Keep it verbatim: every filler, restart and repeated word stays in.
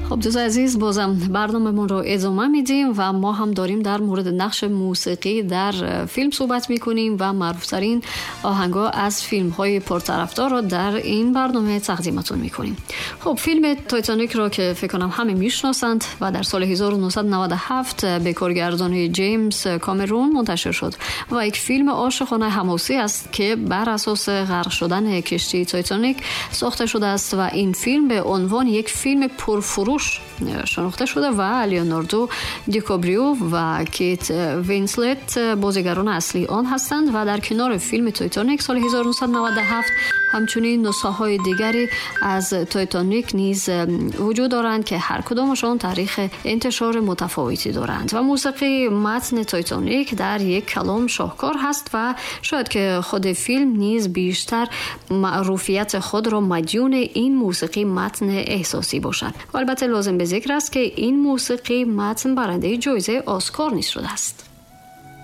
خب دوست عزیز، بازم برنامه‌مون رو ادامه میدیم و ما هم داریم در مورد نقش موسیقی در فیلم صحبت میکنیم و معروفترین آهنگا از فیلم‌های پرطرفدار رو در این برنامه تقدیمتون میکنیم. خب فیلم تایتانیک رو که فکر کنم همه میشناسند و در سال هزار و نهصد و نود و هفت به کارگردانی جیمز کامرون منتشر شد و یک فیلم عاشقانه حماسی است که بر اساس غرق شدن کشتی تایتانیک ساخته شده است و این فیلم به عنوان یک فیلم پرفروش شناخته شده و لیوناردو دیکاپریو و کیت وینسلت بازیگران اصلی آن هستند و در کنار فیلم تایتانیک سال هزار و نهصد و نود و هفت همچنین نسخه‌های دیگری از تایتانیک نیز وجود دارند که هر کدامشان تاریخ انتشار متفاوتی دارند و موسیقی متن تایتانیک در یک کلام شاهکار هست و شاید که خود فیلم نیز بیشتر معروفیت خود را مدیون این موسیقی متن احساسی باشد. البته لازم به ذکر است که این موسیقی متن برنده جایزه اسکار نیز شده است.